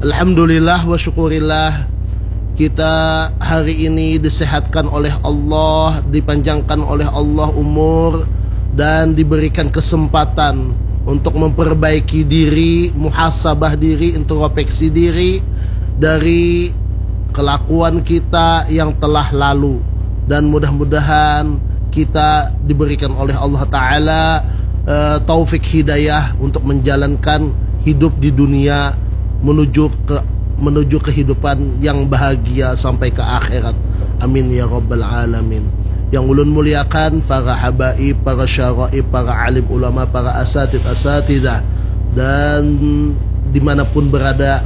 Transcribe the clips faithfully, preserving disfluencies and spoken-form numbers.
Alhamdulillah wa syukurillah, kita hari ini disehatkan oleh Allah, dipanjangkan oleh Allah umur, dan diberikan kesempatan untuk memperbaiki diri, muhasabah diri, introspeksi diri dari kelakuan kita yang telah lalu. Dan mudah-mudahan kita diberikan oleh Allah Ta'ala eh, taufik hidayah untuk menjalankan hidup di dunia menuju ke menuju kehidupan yang bahagia sampai ke akhirat. Amin ya rabbal alamin. Yang ulun muliakan para habaib, para syaraib, para alim ulama, para asatid asatidah, dan dimanapun berada,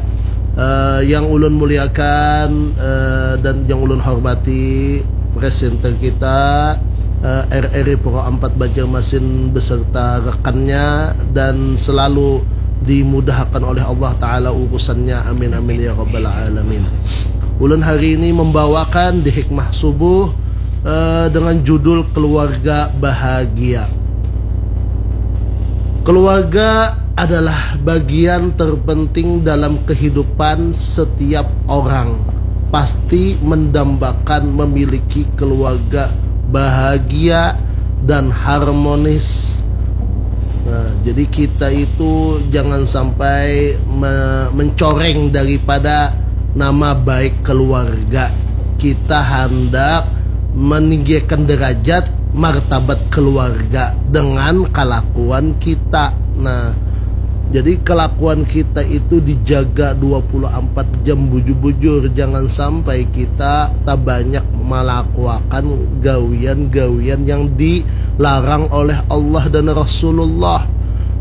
eh, yang ulun muliakan eh, dan yang ulun hormati, presenter kita eh, R R I Pro empat Banjarmasin beserta rekannya, dan selalu dimudahkan oleh Allah Ta'ala urusannya. Amin, amin ya rabbal alamin. Ulun hari ini membawakan di hikmah subuh eh, dengan judul Keluarga Bahagia. Keluarga adalah bagian terpenting dalam kehidupan setiap orang. Pasti mendambakan memiliki keluarga bahagia dan harmonis. Nah, jadi kita itu jangan sampai me- mencoreng daripada nama baik keluarga. Kita hendak meninggikan derajat martabat keluarga dengan kelakuan kita. Nah, jadi kelakuan kita itu dijaga dua puluh empat jam bujur-bujur. Jangan sampai kita tak banyak melakukan gawian-gawian yang dilarang oleh Allah dan Rasulullah.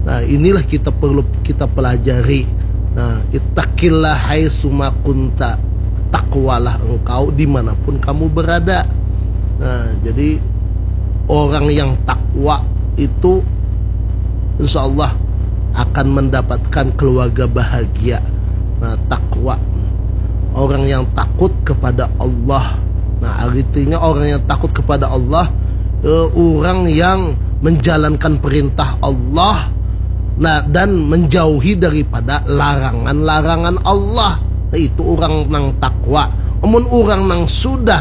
Nah, inilah kita perlu kita pelajari. Nah, ittaqillah haitsuma kunta. Takwalah engkau dimanapun kamu berada. Nah, jadi orang yang takwa itu insya Allah akan mendapatkan keluarga bahagia. Nah, takwa, orang yang takut kepada Allah. Nah, artinya orang yang takut kepada Allah eh, orang yang menjalankan perintah Allah, nah, dan menjauhi daripada larangan-larangan Allah. Nah, itu orang nang takwa. Amun orang nang sudah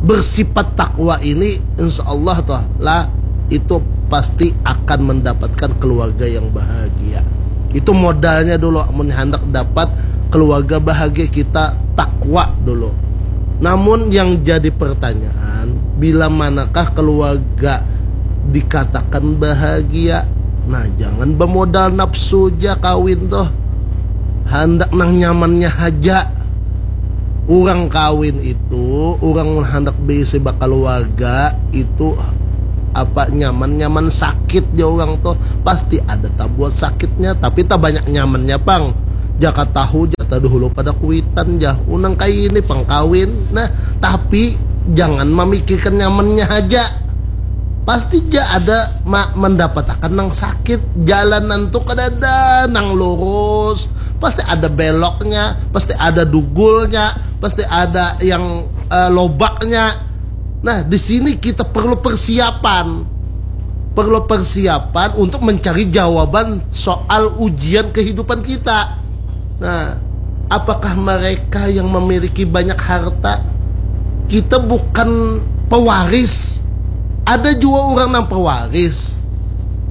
bersifat takwa ini, insya Allah toh lah, itu pasti akan mendapatkan keluarga yang bahagia. Itu modalnya dulu, amun hendak dapat keluarga bahagia, kita takwa dulu. Namun yang jadi pertanyaan, bila manakah keluarga dikatakan bahagia? Nah, jangan bermodal nafsu ja kawin tuh. Handak nang nyamannya haja. Urang kawin itu, urang handak beisi bakaluarga itu apa nyaman-nyaman sakit ja urang tuh. Pasti ada tabuat sakitnya, tapi tabanyak nyamannya pang. Jaka tahu ja taduhulu pada kuitan ja. Unang kaini pang kawin. Nah, tapi jangan mamikirkan nyamannya haja. Pasti ja ada ma- mandapatakan nang sakit. Jalanan tu kadada nang lurus. Pasti ada beloknya, pasti ada dugulnya, pasti ada yang eh, lobaknya. Nah, di sini kita perlu persiapan. Perlu persiapan untuk mencari jawaban soal ujian kehidupan kita. Nah, apakah mereka yang memiliki banyak harta? Kita bukan pewaris. Ada juga orang nang pewaris.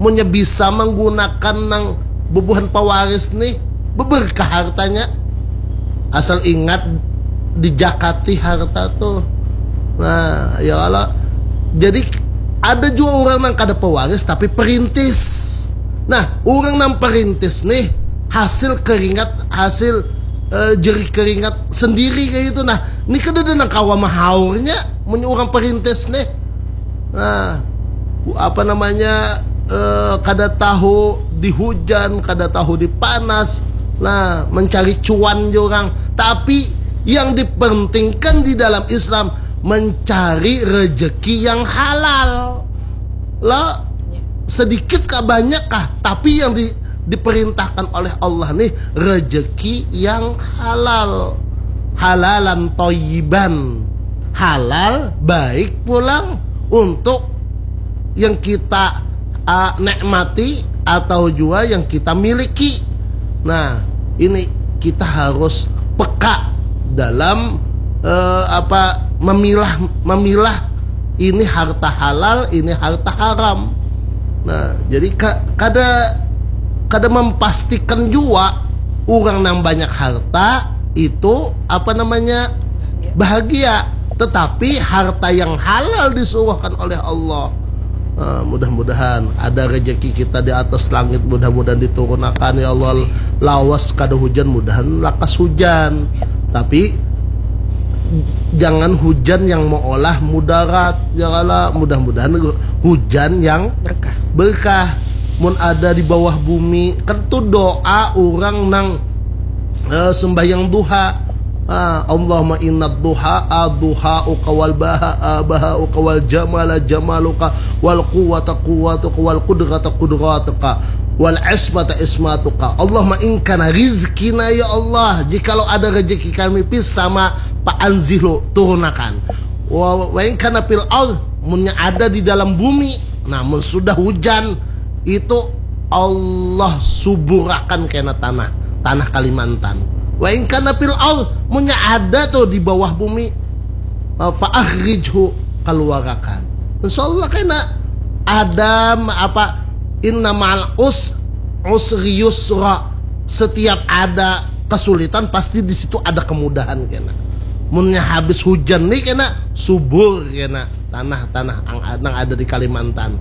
Munnya bisa menggunakan nang bubuhan pewaris nih, beberkah hartanya. Asal ingat, dijakati harta tuh. Nah, ya Allah. Jadi ada juga orang nang kada pewaris tapi perintis. Nah, orang nang perintis nih hasil keringat, hasil eh, jerih keringat sendiri kayak gitu. Nah, ini kan ada nang kawa mahaurnya, punya orang perintis nih. Nah, apa namanya eh, kada tahu di hujan, kada tahu di panas. Nah, mencari cuan orang. Tapi yang dipentingkan di dalam Islam mencari rezeki yang halal. Lah, sedikit kah banyak kah, tapi yang di, diperintahkan oleh Allah nih rezeki yang halal, halalan toyiban, halal baik pulang untuk yang kita uh, nikmati atau juga yang kita miliki. Nah, ini kita harus peka dalam eh, apa memilah memilah ini harta halal, ini harta haram. Nah, jadi ka- kada kada memastikan juga orang yang banyak harta itu apa namanya bahagia. Tetapi harta yang halal disuruhkan oleh Allah. Nah, mudah-mudahan ada rezeki kita di atas langit, mudah-mudahan diturunakan ya Allah. Lawas kada hujan, mudahan lakas hujan. Tapi jangan hujan yang meolah mudarat, ya Allah. Mudah-mudahan hujan yang Berkah. berkah. Mun ada di bawah bumi, kan tu doa orang nang eh, sembahyang duha. Ah, Allahumma inna duha aduhauka wal baha bahauka wal jamala jamaluka wal quwata quwatuka wal qudrata qudratuka wal ismata ismatuka. Allahumma inkana rizkina ya Allah, jikalau ada rezeki kami fis sama fa anzilu turunakan. Wa, wa inkana fil ard, munnya ada di dalam bumi. Nah, mun sudah hujan itu Allah suburakan kena tanah, tanah Kalimantan. Wa inkana fil ard, munnya ada tuh di bawah bumi, eh, fa akhrijhu, keluarakan. Insya Allah kena ada ma- apa inna ma'al us usri yusra. Setiap ada kesulitan pasti di situ ada kemudahan kena. Munnya habis hujan nih kena subur kena tanah-tanah ang- nang ada di Kalimantan.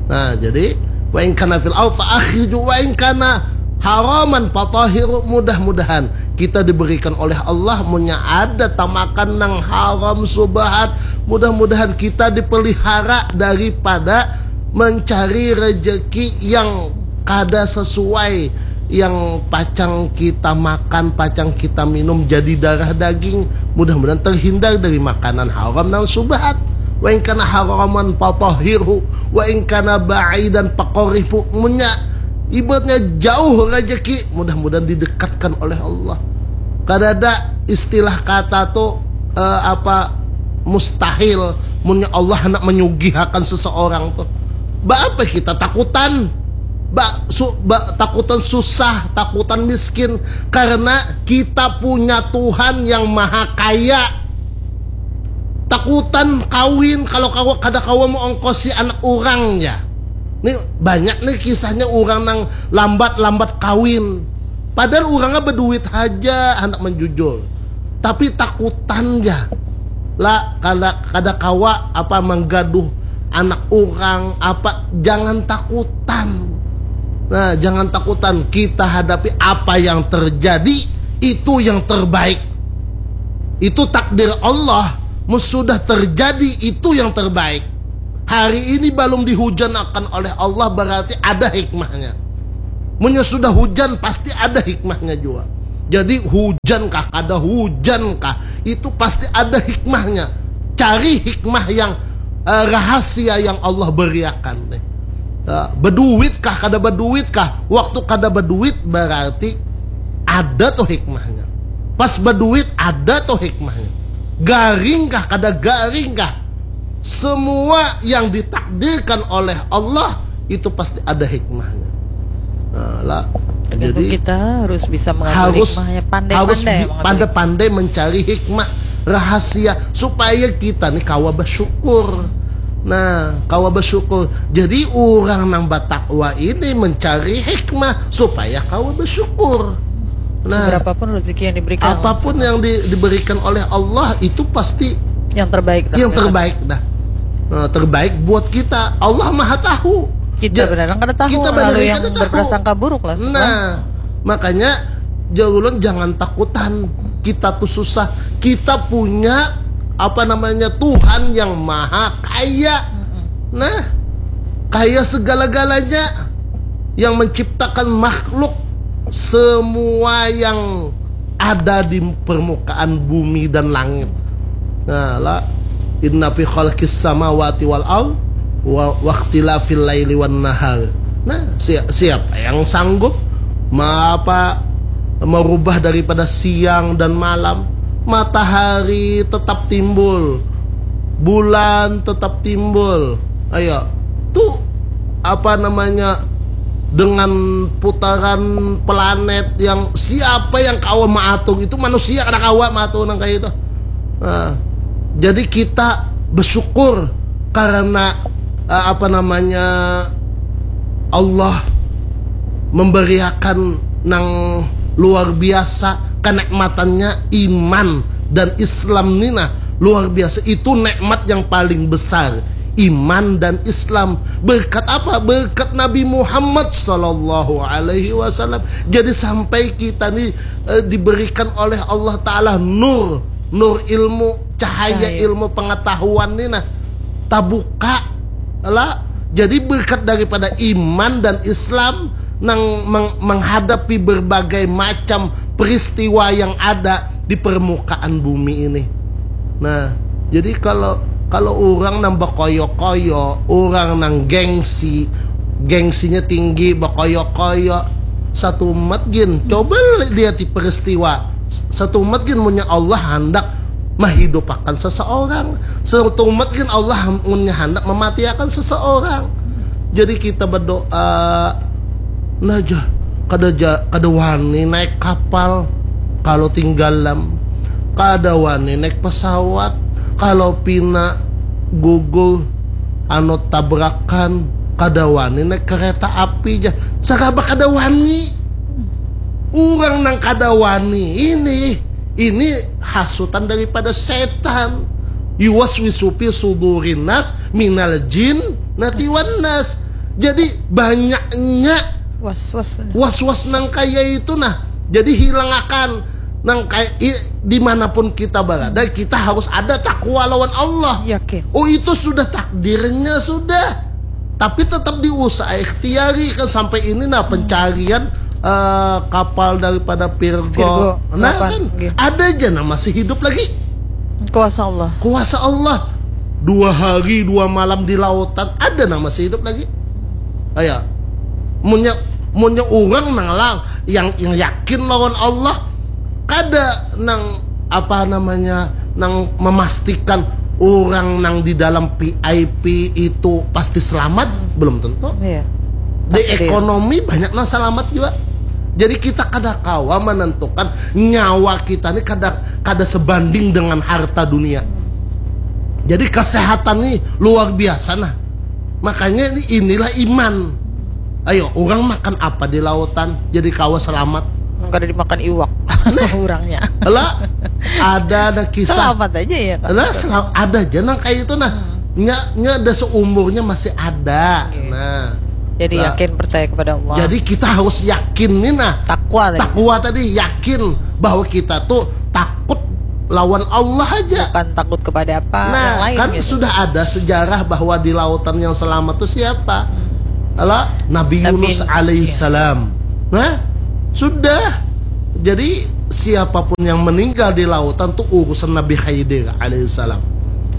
Nah, jadi wa in kana fil ard fa akhriju wa in kana haraman fatahiru, mudah-mudahan kita diberikan oleh Allah munnya ada tamakan nang haram subahat, mudah-mudahan kita dipelihara daripada mencari rezeki yang kada sesuai yang pacang kita makan, pacang kita minum jadi darah daging. Mudah-mudahan terhindar dari makanan haram nang subahat. Wa in kana haraman fatahhirhu wa in kana ba'idan faqarribhu. Munnya ibaratnya jauh rezeki, mudah-mudahan didekatkan oleh Allah. Kada ada istilah kata tu eh, apa mustahil munnya Allah hendak menyugihakan seseorang tu. Ba apa kita takutan? Ba, su, ba takutan susah, takutan miskin karena kita punya Tuhan yang maha kaya. Takutan kawin kalau kawa kada kawa mau ongkosi anak orang ya. Ni banyak nih kisahnya orang nang lambat-lambat kawin. Padahal orangnya berduit aja hendak menjujur. Tapi takutan ya. Lah kada kada kawa apa menggaduh anak orang apa, jangan takutan. Nah, jangan takutan, kita hadapi apa yang terjadi, itu yang terbaik. Itu takdir Allah, mun sudah terjadi itu yang terbaik. Hari ini belum dihujanakan oleh Allah berarti ada hikmahnya. Munnya sudah hujan pasti ada hikmahnya juga. Jadi hujan kah kada hujan kah itu pasti ada hikmahnya. Cari hikmah yang eh, rahasia yang Allah beriakan nih. Eh, beduit kah kada beduit kah? Waktu kada beduit berarti ada tuh hikmahnya. Pas beduit ada tuh hikmahnya. Garing kah kada garing kah? Semua yang ditakdirkan oleh Allah itu pasti ada hikmahnya. Nah, lah, Tergantung jadi kita harus bisa mengambil harus hikmahnya, harus pandai-pandai bi- mengambil. Pandai-pandai mencari hikmah rahasia supaya kita nih kawa bersyukur. Nah, kawa bersyukur. Jadi orang nang bertakwa ini mencari hikmah supaya kawa bersyukur. Nah, Seberapapun rezeki yang diberikan, apapun yang di- diberikan oleh Allah itu pasti yang terbaik. Yang terbaik dah. Nah, terbaik buat kita. Allah Maha Tahu. Kita Ja- benar-benar kada tahu, kita lalu benar-benar yang kada tahu. Berprasangka buruk lah semua. Nah, makanya jauh jangan takutan. Kita tuh susah. Kita punya apa namanya Tuhan yang maha kaya. Nah, kaya segala-galanya yang menciptakan makhluk semua yang ada di permukaan bumi dan langit. Nah, la inna fi khalqis samawati wal ard wa waqtilafil laili wan nahar. Nah, si- siapa yang sanggup ma- apa merubah daripada siang dan malam? Matahari tetap timbul, bulan tetap timbul. Ayo, tuh apa namanya dengan putaran planet yang siapa yang kawa maatur itu, manusia kada kawa maatur nang kayak itu. Nah, jadi kita bersyukur karena uh, apa namanya Allah memberiakan nang luar biasa kenikmatannya iman dan Islam ni nah luar biasa, itu nikmat yang paling besar, iman dan Islam. Berkat apa? Berkat Nabi Muhammad sallallahu alaihi wasallam. Jadi sampai kita ni uh, diberikan oleh Allah Taala nur, nur ilmu, cahaya, cahaya ilmu pengetahuan ni nah tabuka lah. Jadi berkat daripada iman dan Islam nang menghadapi berbagai macam peristiwa yang ada di permukaan bumi ini. Nah, jadi kalau kalau orang nang bakoyo-koyo, orang nang gengsi, gengsinya tinggi, bakoyo-koyo, satu umat gin, coba lihat di peristiwa, satu umat gin punya Allah hendak menghidupakan seseorang, satu umat gin Allah punya hendak mematiakan seseorang. Jadi kita berdoa, nah aja kada ja, kada wani naik kapal kalau tinggalam, kada wani naik pesawat kalau pina gugur anu tabrakan, kada wani naik kereta api ja, saraba kada wani. Urang nang kada wani ini ini hasutan daripada setan. Yuwas wisupi sudurinas minal jin natiwan nas. Jadi banyaknya was-was nah. Was-was nang kaya itu nah. Jadi hilangakan nang kaya i, dimanapun kita berada, kita harus ada takwa lawan Allah. Yakin. Oh, itu sudah takdirnya sudah. Tapi tetap diusaha ikhtiari kan sampai ini nah pencarian uh, kapal daripada Virgo. Virgo. Nah kan okay. Ada aja nah masih hidup lagi. Kuasa Allah. Kuasa Allah. Dua hari dua malam di lautan ada nah masih hidup lagi. Ayo. Munya munya orang nang lang yang yang yakin lawan Allah kada nang apa namanya nang memastikan orang nang di dalam V I P itu pasti selamat belum tentu. Iya. Di ekonomi banyak nang selamat juga. Jadi kita kada kawa menentukan nyawa kita ini kada kada sebanding dengan harta dunia. Jadi kesehatan ini luar biasa nah. Makanya ini inilah iman. Ayo, orang makan apa di lautan jadi kawa selamat? Kada dimakan iwak. Nah, orangnya. Lah, ada ada kisah. Selamat aja ya. Lah, selam, ada aja nang kayak itu nah. Hmm. Nya nya ada seumurnya masih ada. Okay. Nah. Jadi lah, yakin percaya kepada Allah. Jadi kita harus yakin nih nah. Takwa tadi. Takwa tadi yakin bahwa kita tuh takut lawan Allah aja. Bukan takut kepada apa nah, yang lain. Kan gitu. Sudah ada sejarah bahwa di lautan yang selamat tuh siapa? Alah, Nabi, Nabi Yunus alaihissalam. Iya. Nah, sudah. Jadi siapapun yang meninggal di lautan tuh urusan Nabi Khidir alaihissalam.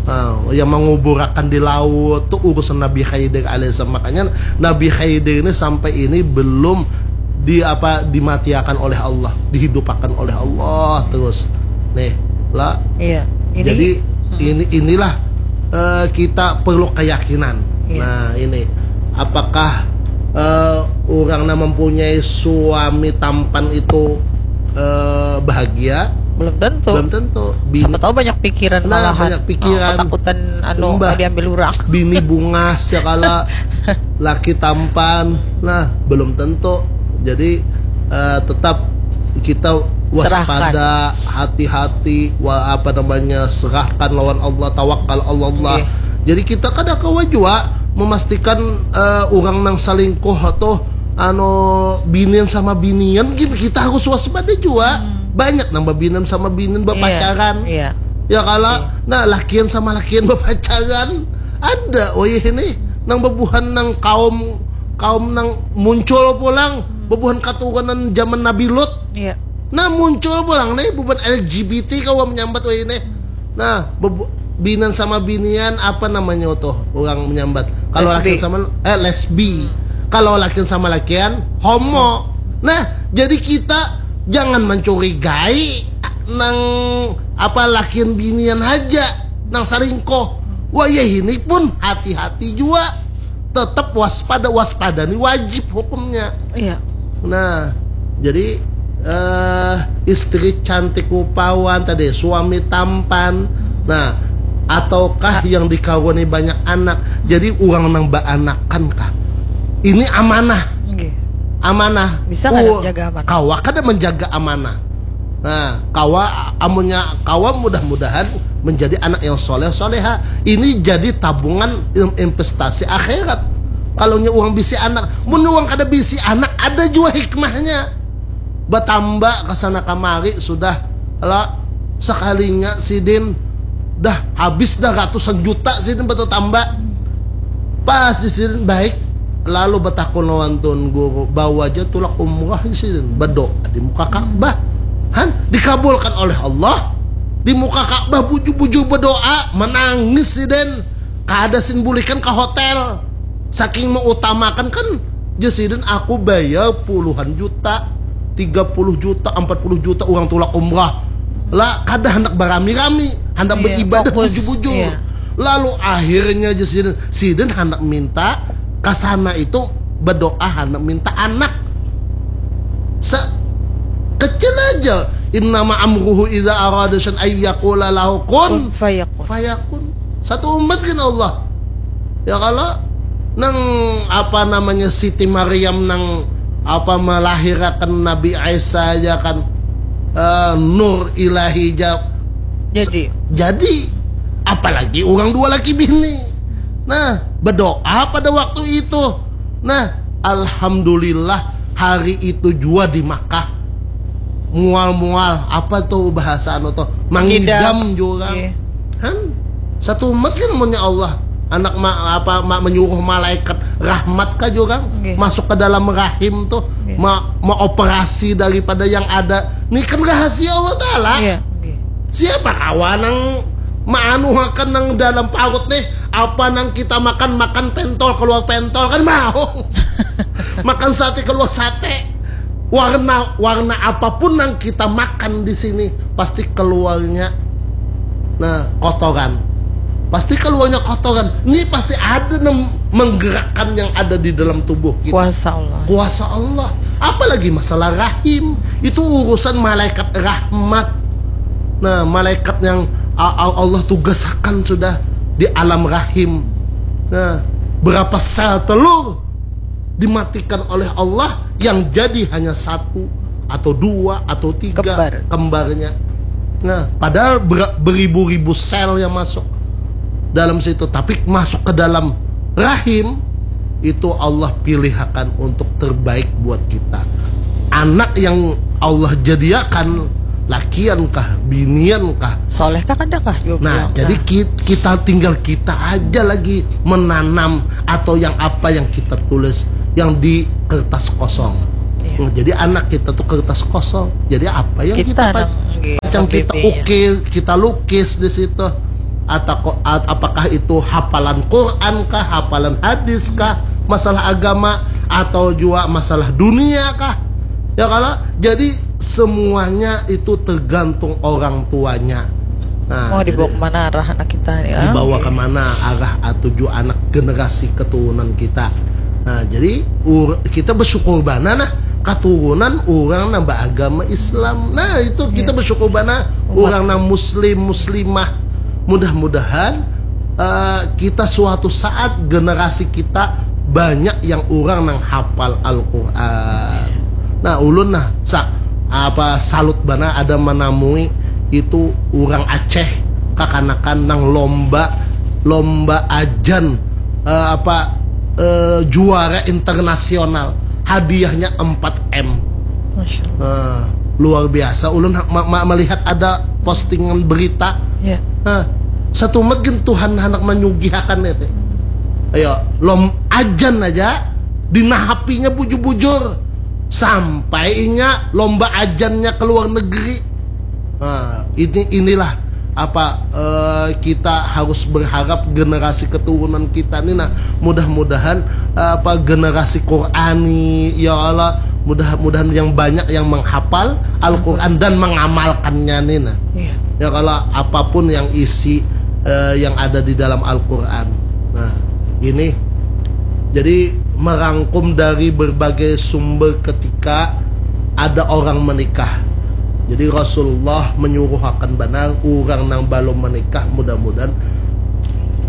Nah, yang menguburakan di laut tuh urusan Nabi Khidir alaihissalam. Makanya Nabi Khidir ini sampai ini belum di apa dimatiakan oleh Allah, dihidupakan oleh Allah terus. Nih, lah. Iya. Ini, jadi hmm. ini inilah uh, kita perlu keyakinan. Iya. Nah, ini apakah uh, orang yang mempunyai suami tampan itu uh, bahagia? Belum tentu. Belum tentu. Bini, siapa tahu banyak pikiran nah, malahan. Banyak pikiran. Oh, ketakutan anu diambil orang. Bini bungas ya kalau laki tampan. Nah, belum tentu. Jadi uh, tetap kita waspada, hati-hati, wa, apa namanya, serahkan lawan Allah, tawakal Allah. Okay. Jadi kita kada kawa jua memastikan uh, orang nang selingkuh atau anu binian sama binian gin kita harus waspada jua. Hmm. Banyak nang binian sama binian berpacaran. Yeah. Yeah. Ya kalau yeah. Nah lakian sama lakian berpacaran ada oh iya ini nang bebuhan nang kaum kaum nang muncul pulang bebuhan katurunan zaman Nabi Lut. Iya. Nah muncul pulang nih bebuhan L G B T kawa menyambat wah ini. Nah bebu- binan sama binian apa namanya tuh orang menyambat. Kalau laki sama eh lesbi. Kalau laki sama lakian homo. Nah jadi kita jangan mencurigai nang apa lakian binian aja nang selingkuh. Wah ya ini pun hati-hati juga. tetap waspada. Waspada ni wajib hukumnya. Iya. Nah, jadi eh istri cantik rupawan tadi, suami tampan. Nah, ataukah yang dikaruni banyak anak. Jadi orang nang baanakan kah? Ini amanah. Nggih. Amanah. Bisa kada menjaga amanah? Kawa kada menjaga amanah. Nah, kawa amunnya kawa mudah-mudahan menjadi anak yang soleh soleha. Ini jadi tabungan investasi akhirat. Kalau nya uang bisi anak, mun uang kada bisi anak ada juga hikmahnya. Bertambah ke sana kemari sudah lah sekalinya sidin dah habis dah ratusan juta sidin bertambah. Pas di sidin baik lalu bertakun lawan tuan guru bawa aja tulak umrah sidin berdoa di muka Ka'bah. Han dikabulkan oleh Allah di muka Ka'bah bujur-bujur berdoa menangis sidin kada sin bulikan ke hotel saking mengutamakan kan jesiden aku bayar puluhan juta tiga puluh juta empat puluh juta uang tulak umrah lah kada hendak berami-rami hendak yeah, beribadah bujur-bujur yeah. Lalu akhirnya jesiden siden hendak minta kasana itu berdoa hendak minta anak se kecil aja innama amruhu idza arada syai'an ayyakula lahu kun fayakun satu umat kan Allah ya kalau nang apa namanya Siti Maryam nang apa melahirkan Nabi Isa aja kan uh, nur ilahi aja jadi jadi apalagi orang dua laki bini nah berdoa pada waktu itu nah alhamdulillah hari itu jua di Makkah mual-mual apa tuh bahasa anu tuh mangidam juga yeah. Han satu umat kan punya Allah anak ma, apa ma, menyuruh malaikat rahmat kah juga okay. Masuk ke dalam rahim tuh okay. ma, ma operasi daripada yang ada ini kan rahasia Allah Taala yeah. Okay. Siapa kawan yang maanuhakan nang dalam parut nih apa nang kita makan makan pentol keluar pentol kan mau makan sate keluar sate warna warna apapun yang kita makan di sini pasti keluarnya nah kotoran pasti keluarnya kotoran ini pasti ada yang menggerakkan yang ada di dalam tubuh kita kuasa Allah kuasa Allah apalagi masalah rahim itu urusan malaikat rahmat nah malaikat yang Allah tugaskan sudah di alam rahim nah berapa sel telur dimatikan oleh Allah yang jadi hanya satu atau dua atau tiga Kembar. Kembarnya. Nah, padahal ber, beribu-ribu sel yang masuk dalam situ, tapi masuk ke dalam rahim itu Allah pilihakan untuk terbaik buat kita. Anak yang Allah jadiakan lakian kah, binian kah? Soleh kah kada kah? Nah, jadi kita tinggal kita aja lagi menanam atau yang apa yang kita tulis yang di kertas kosong. Yeah. Nah, jadi anak kita tuh kertas kosong. Jadi apa yang kita, kita yang kita ukir, kita lukis di situ. Atau apakah itu hafalan Quran kah, hafalan hadis kah, masalah agama atau juga masalah dunia kah? Ya kalau jadi semuanya itu tergantung orang tuanya. Nah, mau dibawa kemana arah anak kita ya? Dibawa okay. Kemana arah tujuh anak generasi keturunan kita. Nah, jadi kita bersyukur bana nah keturunan orang nang beragama Islam. Nah, itu kita yeah. Bersyukur bana orang nang muslim muslimah. Mudah-mudahan uh, kita suatu saat generasi kita banyak yang orang nang hafal Al-Quran. Nah, ulun nah sa, apa salut bana ada menamui itu orang Aceh kakanakan nang lomba lomba ajan uh, apa uh, juara internasional hadiahnya empat M. Masya Allah. Uh, luar biasa ulun ma ma melihat ada postingan berita yeah. Nah, satu megan Tuhan hendak menyugihakan itu ayo lom ajan aja dinahapinya bujur-bujur sampai inya lomba ajannya ke luar negeri nah, ini inilah apa uh, kita harus berharap generasi keturunan kita ini nah mudah-mudahan uh, apa generasi Qurani ya Allah mudah-mudahan yang banyak yang menghafal Al-Quran dan mengamalkannya nih nah yeah. Ya kalau apapun yang isi uh, yang ada di dalam Al-Quran nah ini Jadi merangkum dari berbagai sumber ketika ada orang menikah. Jadi Rasulullah menyuruhakan banar orang nang balum menikah, mudah-mudahan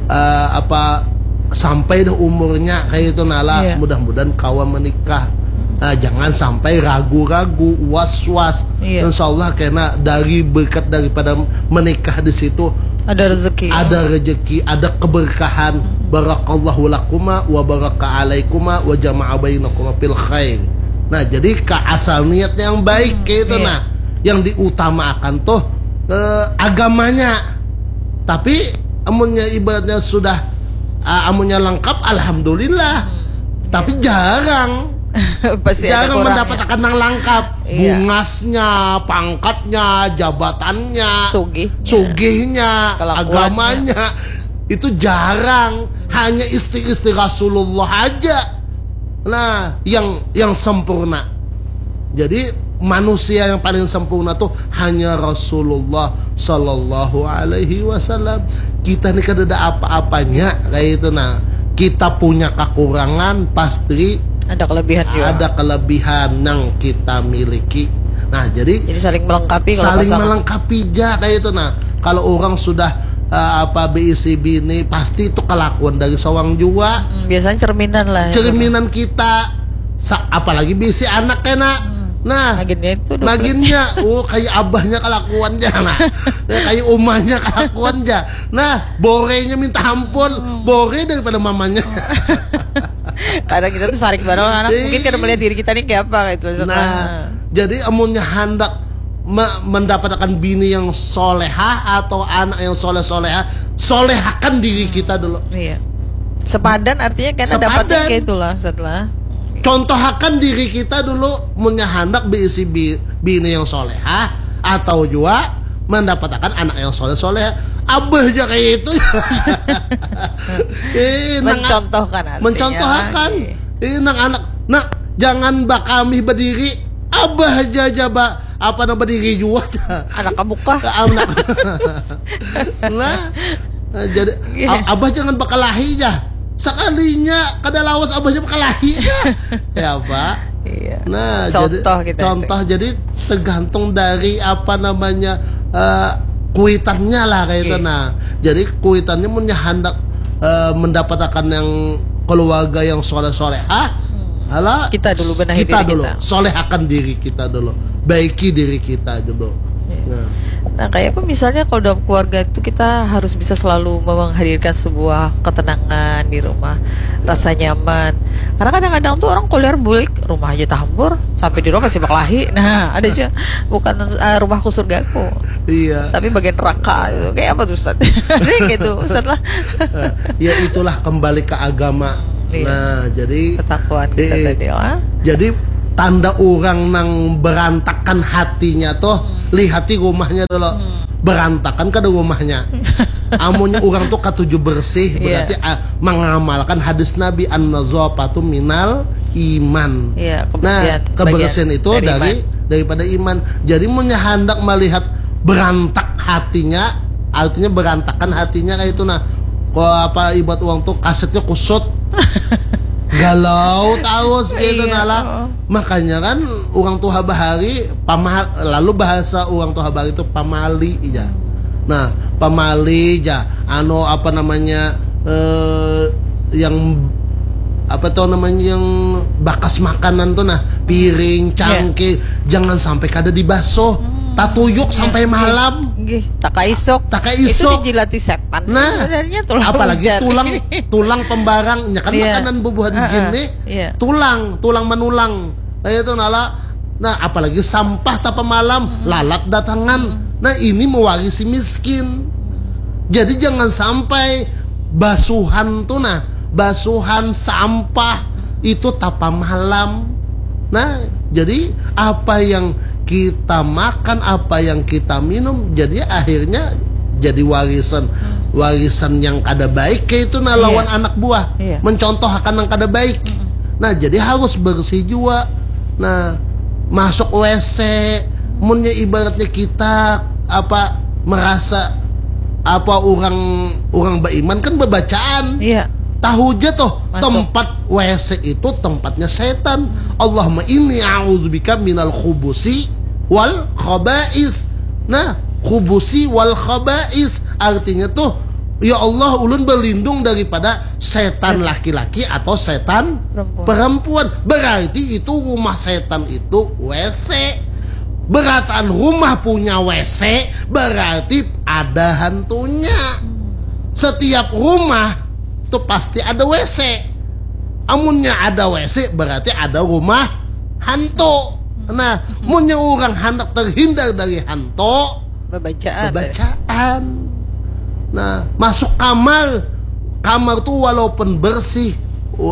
eh, apa sampai dah umurnya kayak itu nala, Iya. Mudah-mudahan kawa menikah. Nah, jangan sampai ragu-ragu, was-was. Iya. Insya Allah karena dari berkat daripada menikah di situ Ada rezeki. ada rezeki, ada keberkahan. Barakallahu lakuma wa baraka alaikuma wa jama'a bainakuma fil khair. Nah, jadi ka asal niatnya yang baik kayak itu iya. Nah, yang diutamakan tuh eh, agamanya. Tapi amunnya ibaratnya sudah ah, amunnya lengkap, alhamdulillah. Tapi jarang Pasti ada jarang kurangnya. Mendapatkan yang lengkap. Iya. Bungasnya, pangkatnya, jabatannya, Sugihnya. sugihnya, Kelakuannya. Agamanya itu jarang. Hanya istri-istri Rasulullah aja. Nah, yang yang sempurna. Jadi manusia yang paling sempurna tuh hanya Rasulullah Shallallahu Alaihi Wasallam. Kita nih kada ada apa-apanya kayak itu nah. Kita punya kekurangan pasti Ada kelebihan juga. Ada kelebihan yang kita miliki. Nah, jadi Jadi saling melengkapi kalau saling pasang. Melengkapi aja kayak itu nah. Kalau orang sudah uh, apa B I C B ini pasti itu kelakuan dari seorang juga. Hmm, biasanya cerminan lah. Cerminan kita. Sa- apalagi bisi anak kena. Nah, Maginnya itu dua maginnya, oh kayak abahnya kelakuan aja nah. Ya, kayak umahnya kelakuan aja. Nah, borenya minta ampun, bore daripada mamanya. Kadang kita tuh saring bareng anak Iya. Mungkin kada melihat diri kita nih kayak apa gitu. Nah, jadi amunnya hendak me- mendapatkan bini yang solehah atau anak yang soleh solehah, solehakan diri kita dulu. Iya. Sepadan artinya kan Sepadan. Dapatnya kayak itulah setelah. Contohakan diri kita dulu, munnya hendak berisi bi- bini yang solehah atau juga mendapatkan anak yang soleh soleh. Abah aja kayak itu. Eh, nang- Mencontohkan artinya. Mencontohakan. Iya. Eh, nang anak, nak jangan bakamih berdiri. Abah aja aja ba apa nama berdiri juga. Anak kabuka. Anak. Nah, jadi Iya. a- abah jangan bakalahi aja. Sekalinya kada lawas abahnya bakalahi aja. Ya, Pak. Iya. Nah, Contoh jadi, kita contoh jadi tergantung dari apa namanya eh, kuitannya lah kayak itu. Iya. Nah, jadi kuitannya munnya hendak eh, mendapatkan yang keluarga yang soleh solehah, alah Kita dulu benahi kita diri dulu, kita. Solehakan diri kita dulu, baiki diri kita dulu. Nah, Nah, kayak apa misalnya kalau dalam keluarga itu kita harus bisa selalu menghadirkan sebuah ketenangan di rumah, rasa nyaman. Karena kadang-kadang tuh orang keluar bulik rumah aja tahambur, sampai di rumah masih bakalahi. Nah, ada aja bukan eh, rumahku surgaku, iya. Tapi bagian neraka itu. Kayak apa tuh Ustaz? Ada yang gitu, Ustaz lah. Ya itulah kembali ke agama. Iya. Nah, jadi Ketakuan kita eh, tadi lah. Jadi tanda orang nang berantakan hatinya tuh lihati rumahnya dulu. Berantakan kada rumahnya. Amunnya orang tuh katuju bersih Iya. berarti ah, mengamalkan hadis Nabi an-nazafatu minal iman. Iya, Nah, kebersihan kebersihan bagian itu dari dari daripada iman. Jadi munnya hendak melihat berantak hatinya, artinya berantakan hatinya kayak itu nah. Kok apa ibarat orang tuh kasetnya kusut. Galau terus gitu Iya, nah lah. oh. Makanya kan orang tuha bahari pama lalu bahasa orang tuha bahari itu pamali aja. Nah, pamali aja anu apa namanya eh yang apa tuh namanya yang bakas makanan tuh nah piring cangkir jangan sampai kada dibasuh tatuyuk sampai malam Gih, taka isuk. Taka Itu isuk. Dijilati setan. Nah, Sebenarnya tulang apalagi hujan. Tulang tulang pembarang ya kan Iya. Makanan bubuhan Heeh, gini iya. Tulang tulang menulang kayak itu nala. Nah, apalagi sampah tapa malam lalat datangan. Nah, ini mewarisi miskin. Jadi jangan sampai basuhan tuh nah, basuhan sampah itu tapa malam. Nah, jadi apa yang kita makan, apa yang kita minum, jadi akhirnya jadi warisan warisan yang kada baik kayak itu nah lawan anak buah Iya. Mencontohkan yang kada baik. Nah, jadi harus bersih juga. Nah, masuk W C, munnya ibaratnya kita apa merasa apa orang orang beriman kan bebacaan. Iya. Tahu aja tuh, tempat W C itu tempatnya setan. Allahumma inni a'udzubika minal khubusi wal khaba'is. Nah, khubusi wal khaba'is artinya tuh, ya Allah, ulun berlindung daripada setan laki-laki atau setan perempuan. Perempuan. Berarti itu rumah setan itu W C. Berataan rumah punya W C berarti ada hantunya. Setiap rumah tuh pasti ada W C. Amunnya ada W C berarti ada rumah hantu. Nah, munnya orang hendak terhindar dari hantu, bebacaan. Bebacaan. Nah, masuk kamar. Kamar tuh walaupun bersih,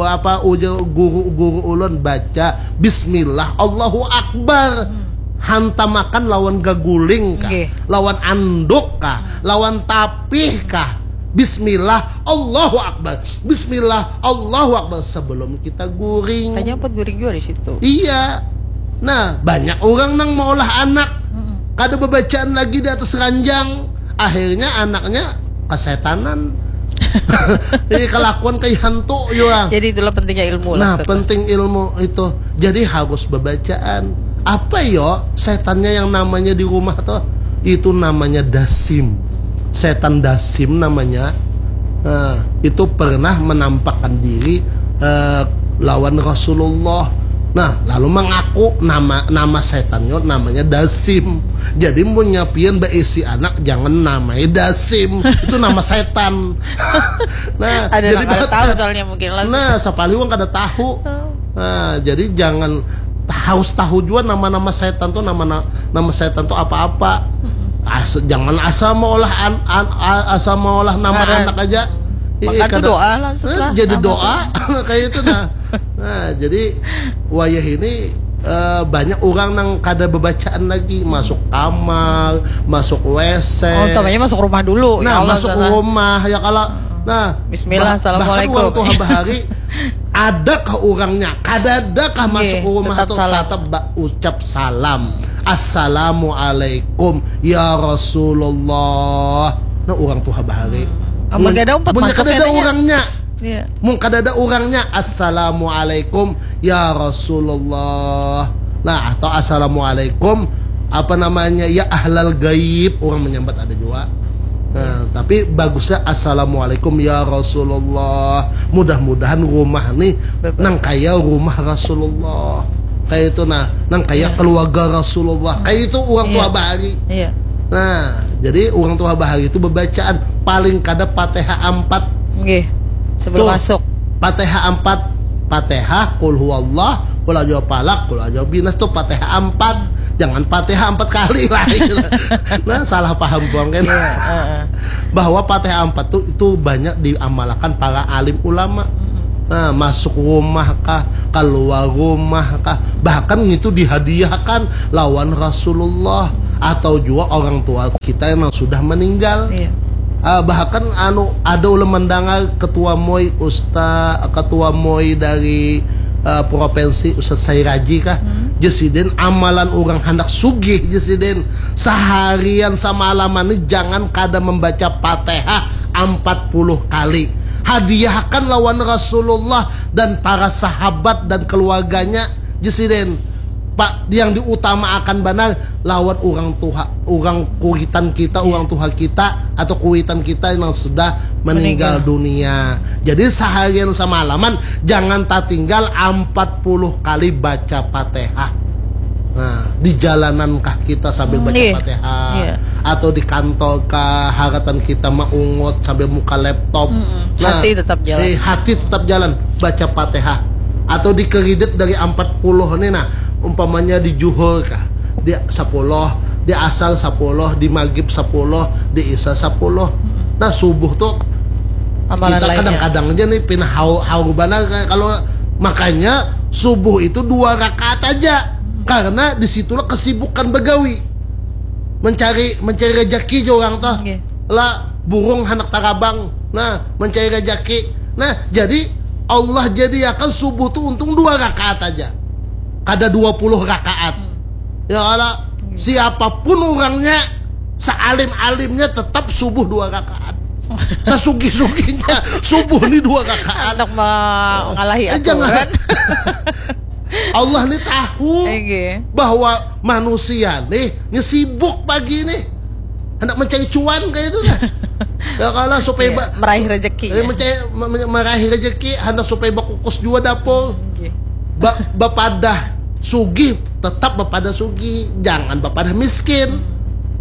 apa ujar guru-guru ulun baca bismillah, Allahu Akbar. Hantamakan lawan gaguling kah, lawan anduk kah, lawan tapih kah. Bismillah, Allahu Akbar. Bismillah, Allahu Akbar sebelum kita guring. Tanya buat guring juga di situ. Iya. Nah, banyak orang nang maulah anak. Kada bebacaan lagi di atas ranjang. Akhirnya anaknya kesetanan. Ini kelakuan kayak hantu juga. Jadi itulah pentingnya ilmu lah. Nah, penting ilmu itu. Jadi harus bebacaan. Apa yo setannya yang namanya di rumah tuh? Itu namanya dasim. Setan dasim namanya. Nah, itu pernah menampakkan diri eh, lawan Rasulullah. Nah, lalu mengaku nama nama setannya namanya dasim. Jadi mun nyapian beisi anak jangan namai dasim. Itu nama setan. Nah, ada jadi nang kada tahu soalnya mungkin lah. Nah, sapalih wang kada tahu. Nah, jadi jangan harus tahu juga nama-nama setan tuh nama nama setan tuh apa-apa. Asa, jangan asal maulah an, an, asal maulah nama anak aja. Maka itu doa lah setelah jadi doa kayak itu nah. Nah, jadi wayah ini uh, banyak orang nang kada bebacaan lagi masuk kamar, masuk W C. Oh, utamanya masuk rumah dulu. Nah, ya Allah, masuk rumah ya kalau nah Bismillah, assalamualaikum. Orang tuh bahari adakah orangnya? Kadadakah masuk rumah tuh tetap ucap salam. Assalamualaikum ya Rasulullah. Nah, orang tuh bahari. Amun kada umpat masuk ada orangnya. Iya. Mun kada ada orangnya, assalamualaikum ya Rasulullah. Nah, atau assalamualaikum apa namanya ya ahlal gaib orang menyambat ada juga. Nah, tapi bagusnya assalamualaikum ya Rasulullah. Mudah-mudahan rumah nih nang kaya rumah Rasulullah. Kayak itu nah, nang kaya keluarga Rasulullah. Kayak itu orang tua bahari. Iya. Nah, jadi orang tua bahari itu bebacaan paling kada Fatihah empat. Nggih. Sebelum masuk. Fatihah empat. Fatihah, kul huwallah, kul aja palak, kul aja binas tuh Fatihah empat. Jangan Fatihah empat kali lah. Nah, salah paham buang kan. Bahwa Fatihah empat tuh itu banyak diamalkan para alim ulama. Nah, masuk rumah kah, keluar rumah kah, bahkan itu dihadiahkan lawan Rasulullah atau juga orang tua kita yang sudah meninggal. Iya. Uh, bahkan anu ada ulama mendengar ketua MOI Ustaz, ketua MOI dari uh, provinsi Ustaz Sairaji kah? Hmm. Jesiden amalan orang hendak sugih jesiden seharian semalaman ini jangan kada membaca Fatihah empat puluh kali. Hadiahkan lawan Rasulullah dan para sahabat dan keluarganya jesiden. Pak, yang diutamakan benar lawan orang tuha, orang kuitan kita, orang tuha kita atau kuitan kita yang sudah meninggal dunia. Jadi seharian semalaman jangan tatinggal empat puluh kali baca Fatihah. Nah, di jalanan kah kita sambil baca Fatihah atau di kantor kah haratan kita maungut sambil muka laptop. Nah, hati tetap jalan. Eh, hati tetap jalan baca Fatihah atau dikredit dari empat puluh nih nah umpamanya di juhur kah di sepuluh di asar sepuluh di maghrib sepuluh di isya sepuluh nah subuh tuh kita kadang-kadang aja nih pina haur, haur banar kalau makanya subuh itu dua rakaat aja karena disitulah kesibukan begawi mencari mencari rezeki orang tuh okay. Lah burung anak tarabang nah mencari rezeki nah jadi Allah jadiakan subuh tuh untung dua rakaat aja kada dua puluh rakaat hmm. Ya Allah hmm. Siapapun orangnya sealim-alimnya tetap subuh dua rakaat Sasugih-sugihnya subuh ni dua rakaan. Handak mengalahi Eh, jangan. aturan. Allah ni tahu Oke. bahwa manusia nih, nih sibuk pagi nih. Hendak mencari cuan kayak itu lah. Ya kalau supaya Iya, ba- meraih rezeki, eh, ya. mencari me- me- meraih rezeki, hendak supaya bakukus juga dapur. Oke. Ba bapadah sugih, tetap bapadah sugih, jangan bapadah miskin.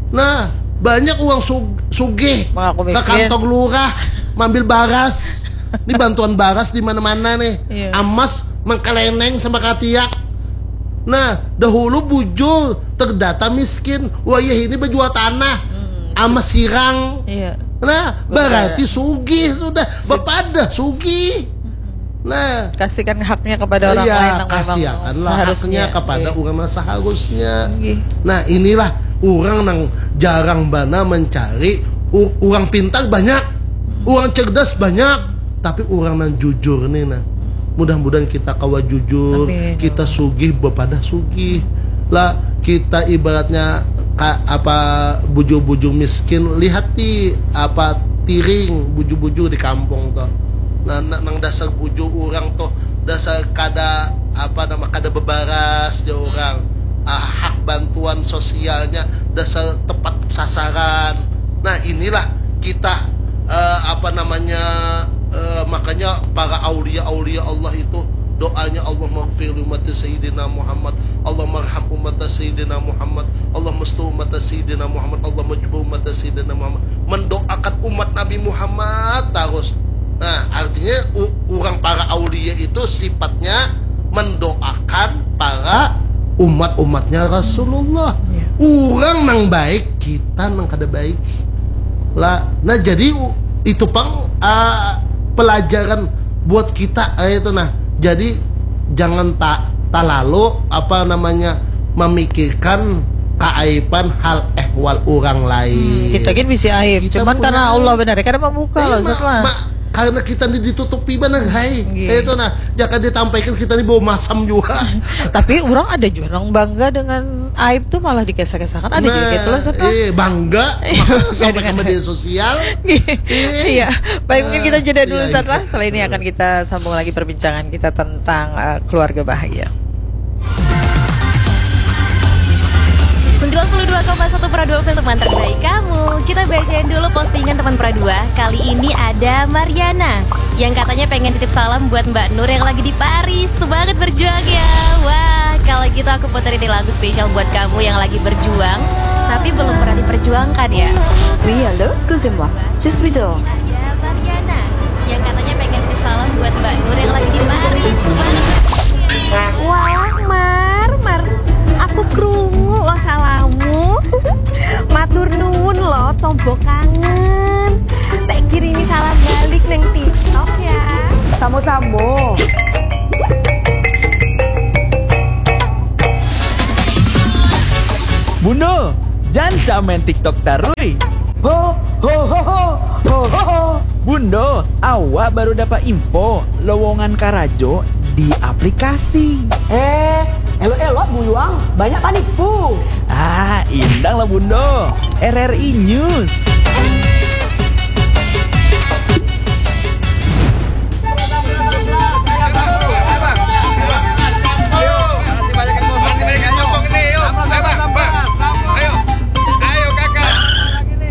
Nah, banyak uang sug sugih Mengaku ke miskin. Kantong lurah, mambil baras. Ini bantuan baras di mana-mana nih. Iya. Amas mengkeleneng sama katiak. Nah, dahulu bujur terdata miskin, wayah ini berjual tanah, amas hirang. Iya. Nah, berarti sugih sudah, bapadah sugih. Nah, Kasihkan haknya kepada orang ya, lain yang memang kasihanlah seharusnya. Haknya kepada Iya. Orang yang seharusnya. Nggih. Nah, inilah orang yang jarang bana mencari u- orang pintar banyak, orang cerdas banyak, tapi orang yang jujur nih nah. Mudah-mudahan kita kawa jujur, Amin. Kita sugih bapadah sugih. Lah kita ibaratnya ka, apa bujur-bujur miskin, lihat di apa tiring bujur-bujur di kampung tuh. Nah, na- nang dasar bujur orang tuh dasar kada apa nama kada bebaras jauh orang. Ah, hak bantuan sosialnya dasar tepat sasaran. Nah, inilah kita eh, apa namanya eh, makanya para aulia-aulia Allah itu doanya Allah maghfir umat Sayyidina Muhammad, Allah marham umat Sayyidina Muhammad, Allah mastur umat Sayyidina Muhammad, Allah majbur umat Sayyidina Muhammad, mendoakan umat Nabi Muhammad terus. Nah, artinya u- orang para aulia itu sifatnya mendoakan para umat-umatnya Rasulullah. Orang nang baik, kita nang kada baik. Lah, nah jadi u- itu pang ah, pelajaran buat kita eh, itu nah. Jadi jangan tak talalu apa namanya memikirkan keaiban hal ehwal orang lain. Kita gin bisi aib, Kita cuman punya karena aib. Allah benar kada membuka Tapi lah ma- setelah. ma- karena kita ini ditutupi banar hai. Iya. Kayak itu nah, jangan ditampaikan kita ini bawa masam juga. Tapi orang ada juga orang bangga dengan aib tuh malah dikesah-kesahkan. Ada juga gitu lah setelah. Eh bangga makanya sampai ke Dengan- media sosial. Iya, baik mungkin kita jeda dulu Iya, setelah setelah ini akan kita sambung lagi perbincangan kita tentang eh, keluarga bahagia. Sembilan puluh dua koma satu Pro dua F M teman terbaik kamu. Kita bacain dulu postingan teman Pro dua. Kali ini ada Mariana yang katanya pengen titip salam buat Mbak Nur yang lagi di Paris. Semangat berjuang ya. Wah, kalau gitu aku puterin nih lagu spesial buat kamu yang lagi berjuang tapi belum pernah diperjuangkan ya. Oui, allô, excusez-moi. Je suis dehors. Ada Mariana yang katanya pengen titip salam buat Mbak Nur yang lagi di Paris. Semangat. Wah, Mar, Mar, aku krungu lo salammu. Matur nuwun lo, tombo kangen. Tak kirimi salam balik neng TikTok ya. Samo-samo. Bundo, janca main TikTok tarui. Ho ho ho ho ho ho ho. Bundo, awak baru dapat info lowongan karajo di aplikasi. Eh, elok-elok buyuang, banyak panipu. Ah, indang lah Bundo. R R I News.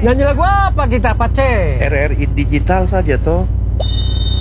Nyanyi lagu apa kita, Pace? R R I digital saja toh.